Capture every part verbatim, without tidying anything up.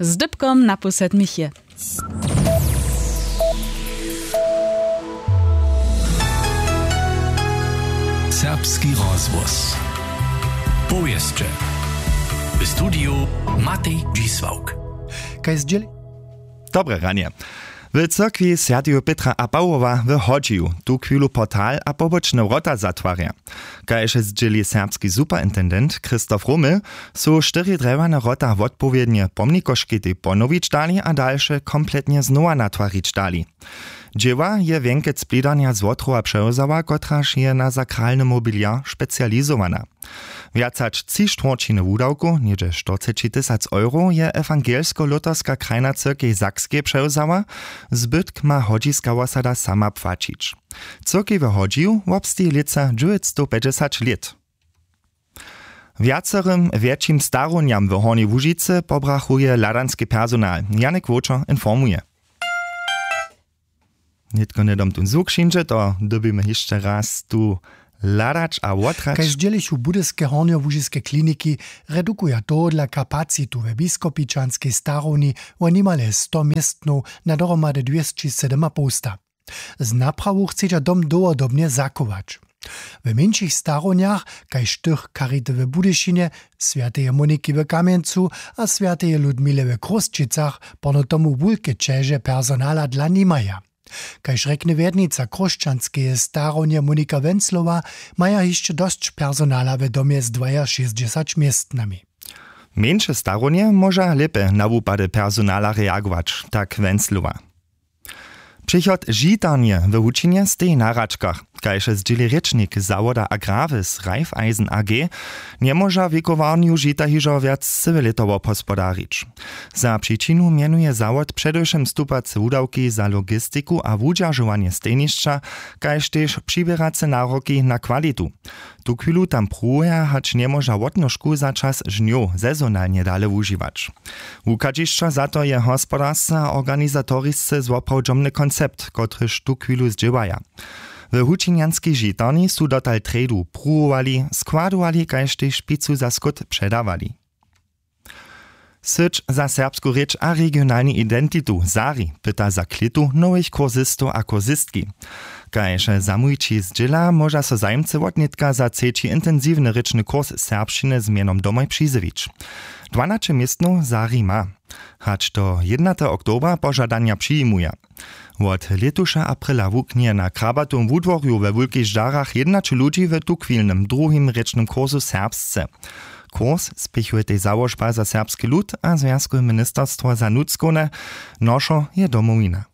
Z dypkom na pół sedmich je. Serbski rozhłos. Powěsće. W studiju Matej Dźisławk. Kaž zdźěli. Dobre ranje. W cyrkwi swjateju Pětra a Pawoła w Hodźiju tuchwilu portal a pobočne wrota zatwarja. Kaž zdźěli serbski superintendent Christoph Romel, su štyri drjewjane wrota wotpowědnje pomnikoškitej ponowić dali a dalše kompletnje znowa natwarić dali. Dźěła je wjenkec Plidarnja z Wotrowa přewzała, kotraž je na sakralny mobiliar specializowana. Wjac hač tři štwórćiny wudawkow, něhdźe štyrceći tysac euro, je ewangelsko-luterska krajna cyrkej Sakskej přewzała, zbytk ma hodźiska wosada sama płaćić. Cyrkej w Hodźiju wobsteji lětsa dźewjećstowpjećdźesat lět. Wjacerym wjetšim starownjam w Hornjej Łužicy pobrachuje hladanski personal. Janik Wočer informuje. Nětko hnydom tón zwuk přińdźe, to dyrbimy hišće raz tu hladać a wothrać. Kaž zdźělichu budyske hornjołužiske kliniki, redukuja tohodla kapacitu we biskopičanskej starowni wo nimale sto městnow na dohromady dwěsći sydomapołsta. Z naprawu chcedźa dom dołhodobnje zachować. W mjeńšich starownjach, kaž tych charity w Budyšinje, swjateje Moniki w Kamjencu a swjateje Ludmile w Chrósćicach, porno tomu wulke ćeže personala dla nimaja. Kaž rjekny wjednica chróšćanskeje starownje Monika Wenclowa, maja hišće dosć personala w domje z dwajašěsćdźesać městnami. Mjeńše starownje móža lěpje na wupady personala reagować, tak Wenclowa. Přichod žitarnje w Hučinje steji na hračkach. Kaž zdźěli rěčnik zawoda Agravis Raiffeisen A G, njemóža wikowarnju žita hižo wjac cyłe lěto wobhospodarić. Za přičinu mjenuje zawod předewšěm stupace wudawki za logistiku a wudźeržowanje stejnišća, kaž tež přiběrace naroki na kwalitu. Tuchwilu tam pruwuja, hač njemóža wotnožku za čas žnjow sezonalnje dale wužiwać. Wuchadźišćo za to je hospodarsce a organizatorisce zwoprawdźomny koncept, kotryž tuchwilu zdźěłaja. W hučinjanskej žitarni su dotal trjedu pruwowali, składowali kaž tež picu za skót předawali. Syć za serbsku rěč a regionalnu identitu Sari pyta za klětu nowych kursistow a kursistki. Kaž zamujići zdźěla, móža so zajimcy wotnětka za třeći intensiwny rěčny kurs serbšćiny z mjenom Domoj přizjewić. Dwanaće městnow Sari ma. Hač do jědnateho oktobra požadanja přijimuja. Wot lětuša aprila wuknje na Krabatowym wudworju we Wulkich Žarach jědnaće ludźi w tuchwilnym druhim rěčnym kursu serbsce. Kurs spěchujej załožba za serbski lud a zwjazkowe ministerstwo za nutřkowne. Nošo je Domowina.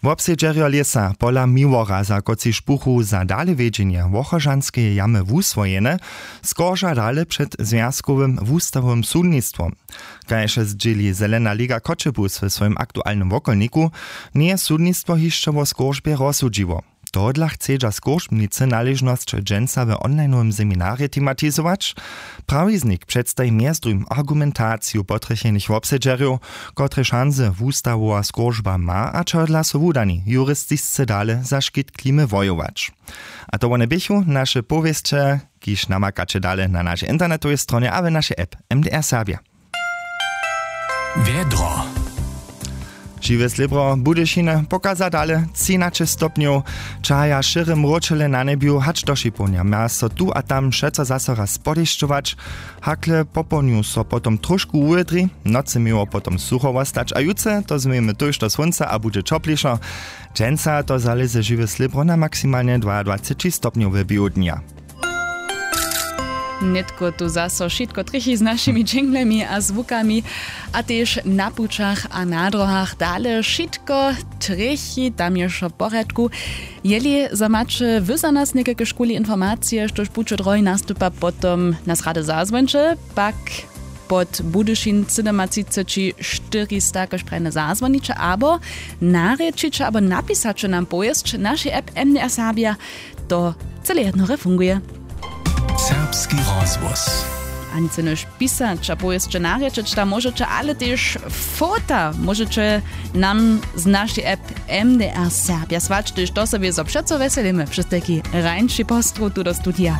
Wobsedźerjo lěsa pola Miłoraza, kotřiž buchu za dalewjedźenje Wochožanskeje jamy wuswojene, skorža dale před zwjazkowym wustawowym sudnistwom. Kaž zdźěli Zelena liga Choćebuz we swojim aktualnym wokolniku, njeje sudnistwo hišće wo skóržbje rozsudźiło. Tohodla chcedźa skóržbnicy naležnosć dźensa w onlinowym seminarje tematizować. Prawiznik předstaji mjez druhim argumentaciju potrjechenych wobsedźerjow, kotrež šansy wustawowa skóržba ma a čehodla so wudani juristisce dale za škit klimy wojować. A to wone běchu naše powěsće, kiž namakaće dale na našej internetowej stronje a w našej app M D R Serbia. Wjedro. Žiwe slěbro Budyšiny pokaza dale třinaće stopnjow, čahaja šěre mróčele na njebju hač do šipołnja. Mja so tu a tam přeco zaso raz podešćować, hakle popołdnju so potom trošku wuwědri, w nocy měło potom sucho wostać a jutře to změjemy tójšto słónca a budźe ćoplišo. Dźensa to zalěze žiwe slěbro na maksimalnje dwaadwaceći stopnjow w běhu dnja. Nětko tu zaso wšitko trjechi z našimi dźinglemi a zwukami, a tež na pućach a na dróhach dale wšitko trjechi, tam je wšo w porjadku. Jeli za maće wy za nas někajke škuli informacije, štož pućo drohi nastupa, potom nas rady zazwońće, pak pod Budyšin sydomatřiceći štyrista kaž prajne zazwoniće abo narěčiće abo napisaće nam powěsć našej app M D R Serbia. To cyle jednore funguje. Serbski rozhłos. A nic jenož pisać a powěsće narěčeć tam móžeće, ale tež fota móžeće nam z našej app M D R Serbia słać, tež to so wězo přeco wjeselimy přez tajki rańši postrów tu do studija.